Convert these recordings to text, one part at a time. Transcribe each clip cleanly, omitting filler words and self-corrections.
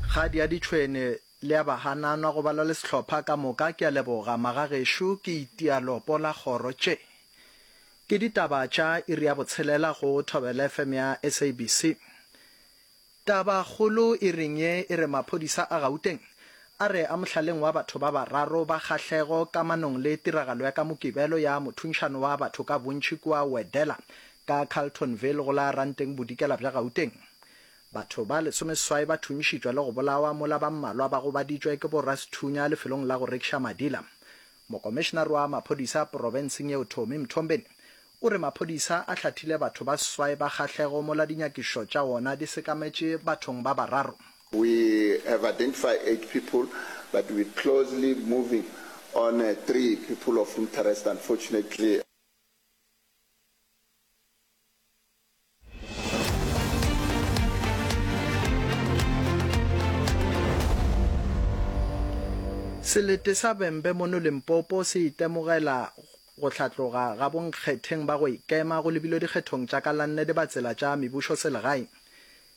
Kgadi ya ditšhwene le ya bahananwa go balwa le sehlopha ka moka ke a leboga magagešo ke itia lopo la kgoro tše ke ditaba tša iri ya botshelela go Thobela FM ya SABC. Taba kgolo iring ye e re maphodisa a Gauteng a re a mohlaleng wa batho ba bararo ba kgahlego kamanong le tiragalo ya ka Mokibelo ya mothunšano wa batho ka bontši kua Wedela ka Carltonville go la Ranteng Bodikela bja Gauteng. Batho ba lesomeseswai ba thunšitšwe le go bolawa mola ba mmalwa ba gobaditšwe ke borasethunya lefelong la go rekiša madila. Mokomišenare wa maphodisa profenseng yeo Tommy Mthombeni o re maphodisa a hlathile batho ba seswai ba kgahlego mola dinyakišišo tša wona di sekametše bathong ba bararo. We have identified eight people but we're closely moving on three people of interest unfortunately. Selete sa Vhembe mono Limpopo se itemogela go hlatloga ga bonkgetheng ba go ikema go lebilwe dikgethong tša ka la nne dibatsela tša mebušoselegae.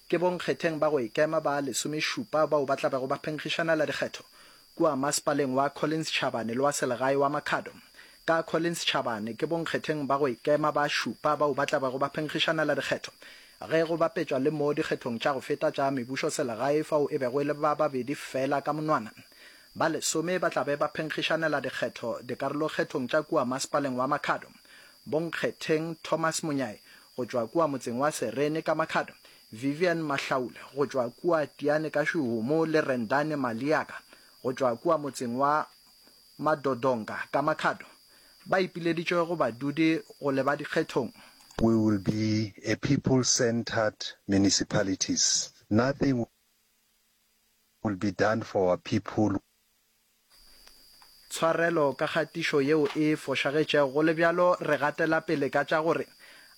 Ke bonkgetheng ba go ikema ba lesomešupa bao ba tla bego ba phenkgišanela dikgetho kua masepaleng wa Collins Chabane le wa selegae wa Makhado. Ka Collins Chabane ke bonkgetheng ba go ikema ba šupa bao ba tla bego ba phenkgišanela dikgetho ge go bapetšwa le mo dikgethong tša go feta tša mebušoselegae fao e bego e le ba babedi feela ka monwana. Ba lesome ba tla be ba phenkgišanela dikgetho dikarolokgethong tša kua masepaleng wa Makhado. Bonkgetheng Thomas Monyai go tšwa kua motseng wa Serene ka Makhado, Vivian Mahlaule go tšwa kua Tiane ka Shuhumu le Rendani Maliaka go tšwa kua motseng wa Madodonga ka Makhado ba ipileditše go badudi go leba dikgethong. We will be a people centred municipalities. Nothing will be done for our people. Tshwarelo ka kgatišo yeo e fošagetšego. Go le bjalo, re gatela pele ka tša gore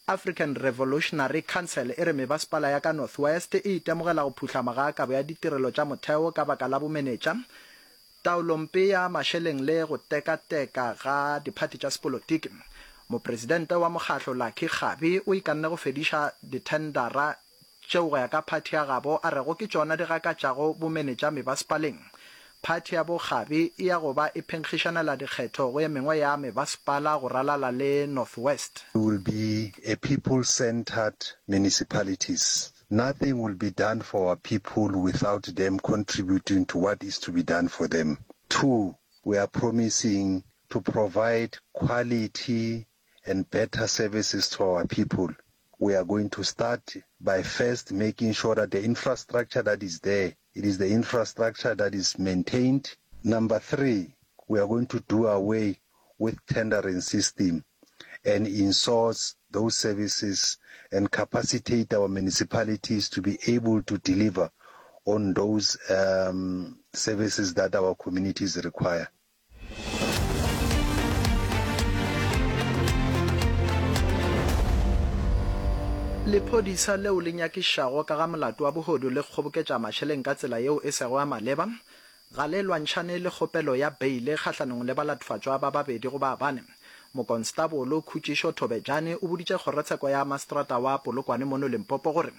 African Revolutionary Council e re mebasepala ya ka North West e itemogela go phuhlama ga kabo ya ditirelo tša motheo ka baka la bomenetša, taolompe ya mašeleng le go tekateka ga diphathi tša sepolotiki. Mopresidente wa mokgahlo Lucky Kgabi o ikanne go fediša dithendara tšeo go ya ka phathi ya gabo a rego ke tšona di gakatšago bomenetša mebasepaleng. Phathi ya bo Kgabi e ya go ba e phenkgišanela dikgetho go ye mengwe ya mebasepala go ralala le North West. We will be a people centered municipalities. Nothing will be done for our people without them contributing to what is to be done for them. Two, we are promising to provide quality and better services to our people. We are going to start by first making sure that the infrastructure that is there, it is the infrastructure that is maintained. Number three, we are going to do away with tendering system and insource those services and capacitate our municipalities to be able to deliver on those um, services that our communities require. Lephodisa leo le nyakišago ka ga molato wa bohodu le kgoboketša mašeleng ka tsela yeo e sego ya maleba ga le lwantšhane le kgopelo ya beile kgahlanong le balatofatšwa ba babedi go ba bane. Mokonstabolo Khutšišo Thobejane o boditše kgorotsheko ya maseterata wa Polokwane mono Limpopo gore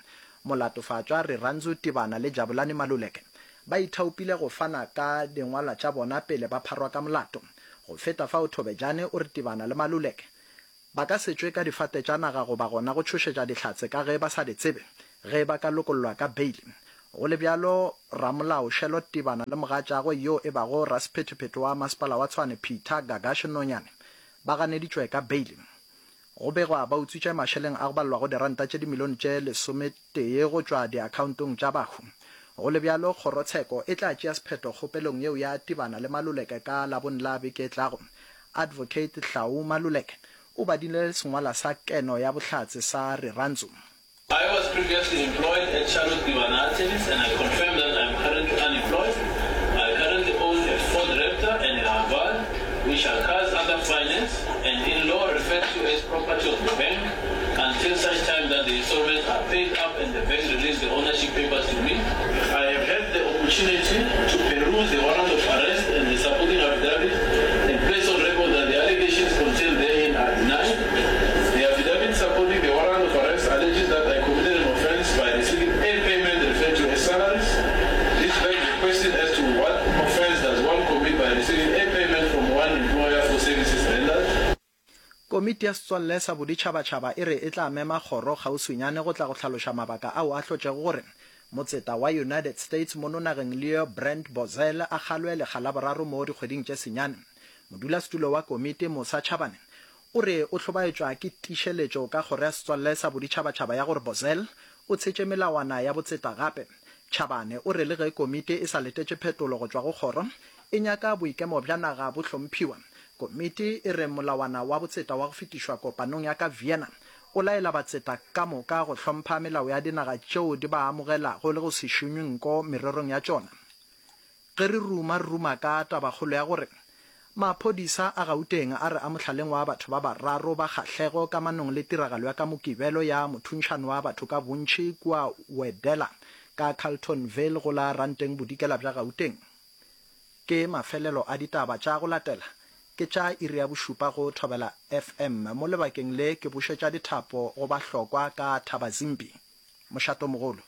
molatofatšwa Rirhandzu Tibana le Jabulani Maluleke Ba ithaopile go fana ka dingwalwa tša bona pele ba pharwa ka molato. Go feta fao Thobejane o re Tibana le Maluleke ba ka se tšwe ka difate tša naga goba gona go tšhošetša Dihlatse ka ge ba sa di tsebe ge ba ka lokollwa ka beile. Go le bjalo, ramolao Shelot Tibana le mogatšagwe yo e bago rasephethephethe wa masepala wa Tshwane Peter Gagash Nonyane ba ganeditšwe ka beile. Go begwa ba utswitše mašeleng a go balelwago diranta tše dimilione tše lesometee go tšwa diakhaontong tša bahu. Go le bjalo, kgorotsheko e tla tšea sephetho kgopelong yeo ya Tibana le Maluleke ka Labone la beke e tlago. Advocate Hlau Maluleke o badile sengwalwa sa keno ya bohlatse sa Rirhandzu. I was previously employed at Charlotte Tibana Attorneys and I confirm that I am currently unemployed. I currently own a Ford Raptor and a Haval, which are cars under finance and in law referred to as property of the bank until such time that the installments are paid up and the bank release the ownership papers to me. I have had the opportunity to peruse the warrant of arrest and the supporting affidavit and place on record that the allegations contained therein are denied. The affidavit supporting the warrant of arrest alleges that I committed an offence by receiving a payment referred to as salaries. This bank. Komiti ya Setswalle sa Boditšhabatšhaba e re e tla mema kgoro kgauswinyane go tla go hlaloša mabaka ao a hlotšego gore motseta wa United States mono nageng Leo Brent Bozell a kgalwe lekga la boraro mo dikgweding tše senyane. Modulasetulo wa komiti Musa Chabane o re o hlobaetšwa ke tiišeletšo ka kgoro ya Setswalle sa Boditšhabatšhaba ya gore Bozell o tshetše melawana ya botseta gape. Chabane o re le ge komiti e sa letetše phetolo go tšwa go kgoro, e nyaka boikemo bja naga bo hlomphiwa. Komiti e re molawana wa botseta wa go fetišwa kopanong ya ka Vienna o laela batseta ka moka go hlompha melao ya dinaga tšeo di ba amogelago le go se šunywe nko mererong ya tšona. Ge re ruma re ruma ka tabakgolo ya gore maphodisa a Gauteng a re a mohlaleng wa batho ba bararo ba kgahlego kamanong le tiragalo ya ka Mokibelo ya mothuntšhano wa batho ka bontši kua Wedela ka Carltonville go la Ranteng Bodikela bja Gauteng. Ke mafelelo a ditaba tša go latela ke tša iri ya bošupa go Thobela FM. Mo lebakeng le ke bušetša dithapo go Bahlokwa ka Thabazimbi. Mošatomogolo.